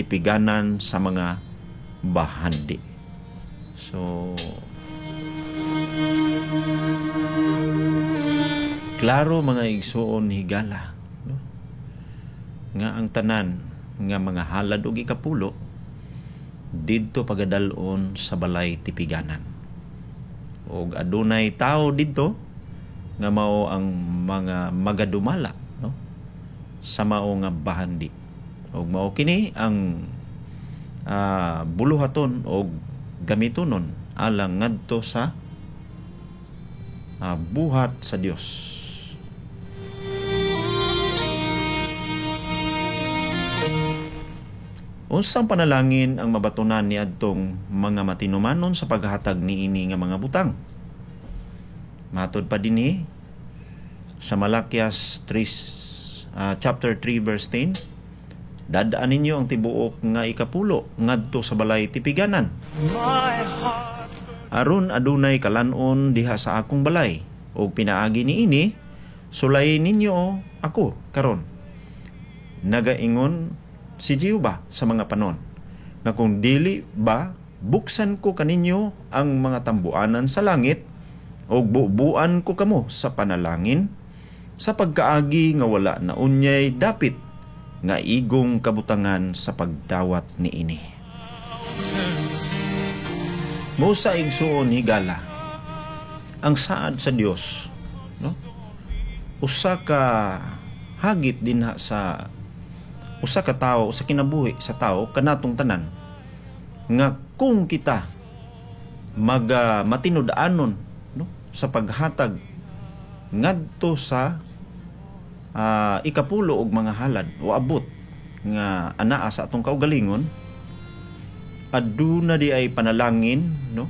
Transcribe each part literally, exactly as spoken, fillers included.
tipiganan sa mga bahandi. So klaro, mga igsuon higala, no? Nga ang tanan nga mga halad og ikapulo didto pagadal-on sa balay tipiganan og adunay tao didto nga mao ang mga magadumala, no, sa mao nga bahandi og mao kini ang uh, buluhaton og gamitonon alang ngadto sa uh, buhat sa Dios. Unsang panalangin ang mabatunan ni adtong mga matinumanon sa paghatag niini nga mga butang? Matod pa dinhi sa Malakias three, uh, chapter three verse ten, dadaan ninyo ang tibuok nga ikapulo ngadto sa balay tipiganan. Aron adunay kalan-on diha sa akong balay og pinaagi niini sulayin ninyo ako karon. Nagaingon si Jehova sa mga panon nga kung dili ba buksan ko kaninyo ang mga tambuanan sa langit og bubuan ko kamo sa panalangin sa pagkaagi nga wala na unyay dapit nga igong kabutangan sa pagdawat niini. Musa, igsuon higala, ang saad sa Dios, no, usa ka hagit dinha sa usa ka tawo, usa kinabuhi sa tawo kanatong tanan nga kung kita mag uh, matinud-anon, no, sa paghatag ngadto sa uh, ikapulo og mga halad o abot nga anaa sa atong kaugalingon, aduna di ay panalangin, no,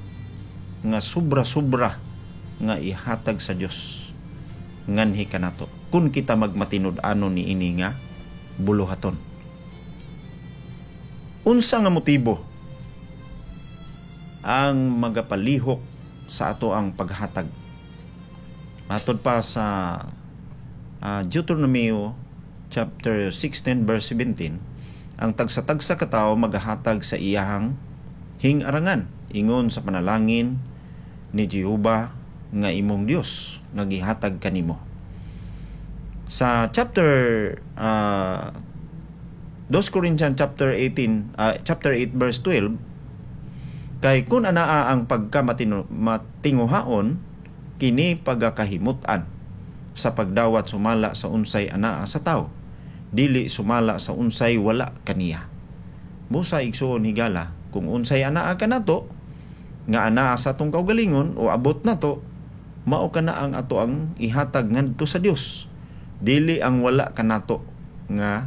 nga sobra-sobra nga ihatag sa Dios nganhi kanato kun kita magmatinud-anon niini nga buluhaton. Unsa nga motibo ang magapalihok sa ato ang paghatag? Matod pa sa uh, Deuteronomio chapter sixteen verse seventeen, ang tagsa-tagsa ka tawo magahatag sa iyahang hingarangan ingon sa panalangin ni Jehova nga imong Dios nga gihatag kanimo. Sa chapter uh, two Corinthians chapter eighteen, uh, chapter eight verse twelve, kay kun anaa ang pagka matinguhaon kini pagakahimut-an sa pagdawat sumala sa unsay anaa sa tao, dili sumala sa unsay wala kaniya. Busa, igsuon higala, kung unsay anaa kanato nga anaa sa atong kaugalingon o abot nato, mao kana ang ato ang ihatag ngadto sa Dios. Dili ang wala kanato nga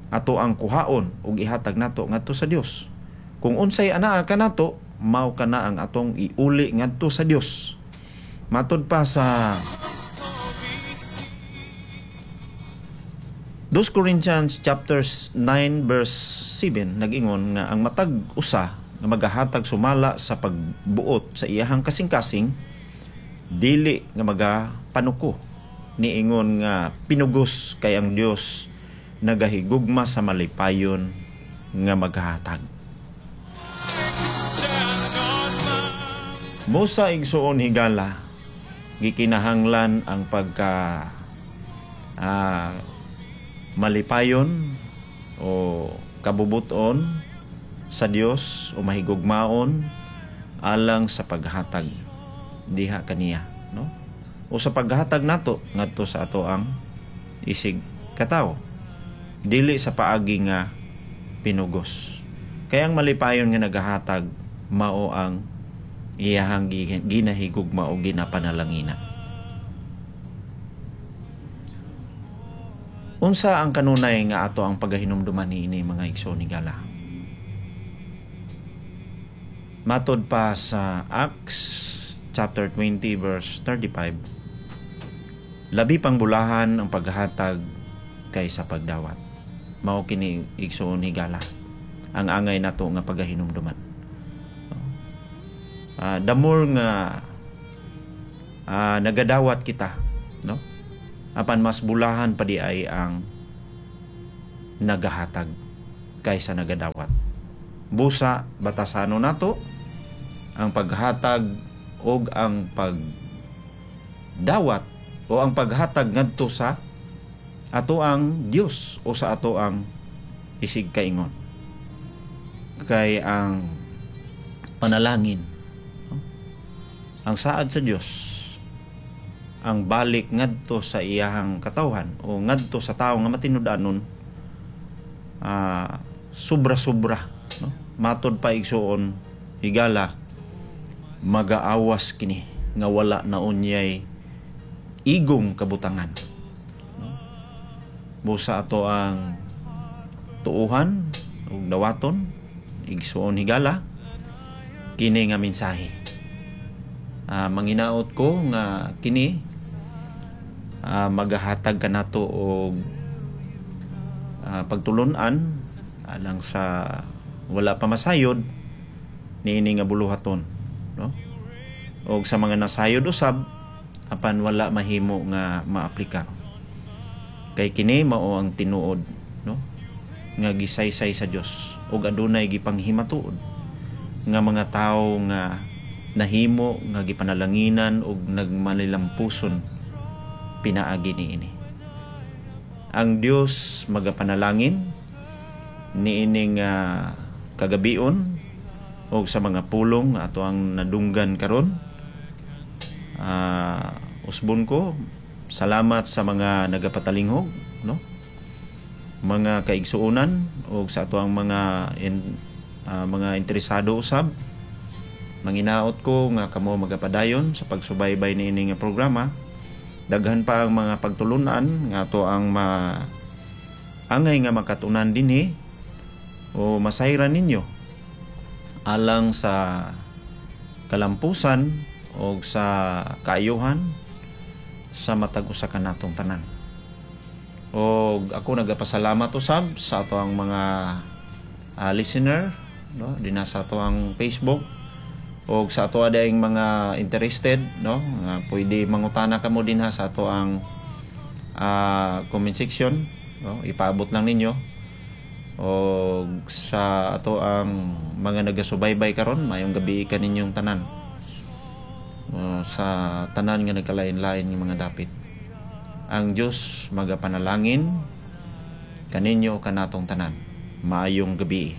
ato ang kuhaon ug ihatag nato ngadto sa Dios. Kung unsay anaa kanato, mao kana ang atong iuli ngadto sa Dios. Matod pa sa two Corinthians chapter nine verse seven, nag-ingon nga ang matag usa nga magahatag sumala sa pagbuot sa iyahang kasing-kasing, dili nga magapanuko niingon nga pinugos kay ang Dios nagahigugma sa malipayon nga maghatag. Musa, igsuon higala, gikinahanglan ang pagka ah, malipayon o kabubuton sa Dios o mahigugmaon alang sa paghatag diha kaniya, no? O sa paghatag nato ngadto sa ato ang isig katawo, dili sa paagi nga pinugos. Kaya ang malipayon nga nagahatag mao ang iyahang ginahigugma o ginapanalangina. Unsa ang kanunay nga ato ang pagahinumduman niini, mga igsoon higala? Matod pa sa Acts chapter twenty verse thirty-five, labi pang bulahan ang paghatag kaysa pagdawat. Mao kini, igsoon higala, ang angay nato nga pagahinumduman. Uh, the more nga uh, nagadawat kita, no, apan mas bulahan pa di ay ang nagahatag. Kaysa nagadawat. Busa batasanon nato ang paghatag og ang pagdawat o ang paghatag ngadto sa ato ang Dios o sa ato ang isig kaingon. Kay ang panalangin, no? Ang saad sa Dios, ang balik ngadto sa iyahang katawhan o ngadto sa tawo nga matinud-anon, ah, sobra-sobra, no? Matod pa, igsuon higala, magaawas kini nga wala na unyay igong kabutangan, no? Busa ato ang tuuhan ug dawaton, igsuon higala, kini nga mensahe. Ah, manginaot ko nga kini ah, magahatag kanato og ah, pagtulunan alang sa wala pa masayod niini nga buluhaton, no, og sa mga nasayod usab apan wala mahimo nga maaplikar, kay kini mao ang tinuod, no, nga gisaysay sa Dios ug adunay gipanghimatuod nga mga tawo nga nahimo nga gipanalanginan ug nagmalilampuson pinaagi niini. Ang Dios magapanalangin niining uh, kagabion og sa mga pulong ato ang nadunggan karon. Uh, usbon ko, salamat sa mga nagapatalinghog, no? Mga kaigsuonan og sa ato ang mga in, uh, mga interesado usab. Manginaot ko nga kamo magapadayon sa pagsubaybay niini nga programa. Daghan pa ang mga pagtulunan nga ato ang ma angay nga makatunan dinhi o masayran ninyo alang sa kalampusan o sa kaayuhan sa matag usa kanatong tanan. Og ako nagapasalamat usab sa ato ang mga uh, listener, no, dinha sa ato ang Facebook og sa ato adayng mga interested, no, nga pwede mangutana kamo dinha sa ato ang uh, comment section, no, ipaabot lang ninyo. Og sa ato ang mga nagasubaybay karon, maayong gabi kaninyong tanan uh, sa tanan nga nagkalain-lain nga mga dapit. Ang Dios magapanalangin kaninyo, kanatong tanan. Maayong gabi.